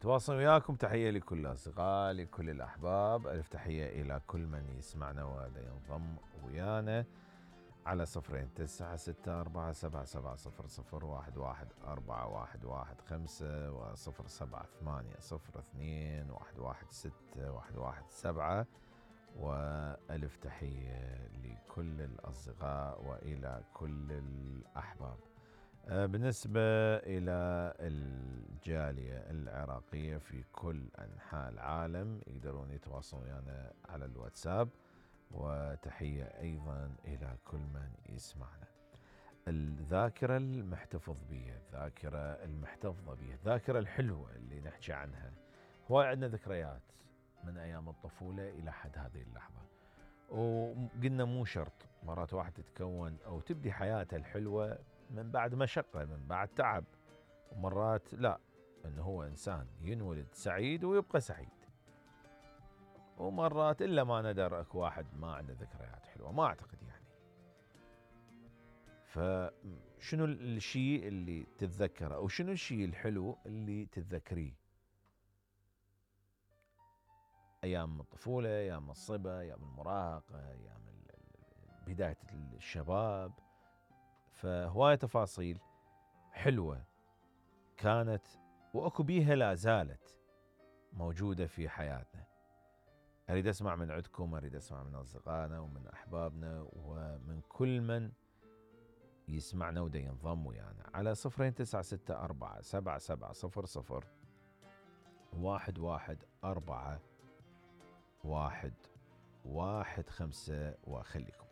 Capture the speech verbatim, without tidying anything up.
نتواصل وياكم. تحية لكل الأصدقاء، لكل الأحباب، ألف تحية إلى كل من يسمعنا وهذا ينضم ويانا على صفرين تسعة ستة أربعة سبعة سبعة صفر صفر واحد واحد أربعة واحد واحد خمسة وصفر سبعة ثمانية صفر اثنين واحد واحد ستة واحد واحد سبعة. وألف تحية لكل الأصدقاء وإلى كل الأحباب. بالنسبة إلى الجالية العراقية في كل أنحاء العالم يقدرون يتواصلون ويانا على الواتساب. وتحية أيضا إلى كل من يسمعنا. الذاكرة المحتفظ بها، الذاكرة المحتفظة بها، الذاكرة الحلوة اللي نحكي عنها. هواي عندنا ذكريات من أيام الطفولة إلى حد هذه اللحظة، وقلنا مو شرط مرات واحد تتكون أو تبدي حياتها الحلوة من بعد مشقة، من بعد تعب، ومرات لا، إنه هو إنسان ينولد سعيد ويبقى سعيد. ومرات إلا ما ندر أكو واحد ما عنده ذكريات حلوة، ما أعتقد يعني. فشنو الشيء اللي تتذكره أو شنو الشيء الحلو اللي تتذكريه؟ أيام الطفولة، أيام الصبا، أيام المراهقة، أيام بداية الشباب. فهواية تفاصيل حلوة كانت وأكو بيها لا زالت موجودة في حياتنا. أريد أسمع من عندكم، أريد أسمع من أصدقائنا ومن أحبابنا ومن كل من يسمعنا ودا ينضم ويانا على صفرين تسعة ستة أربعة سبعة سبعة صفر صفر واحد واحد أربعة واحد واحد خمسة. وخليكم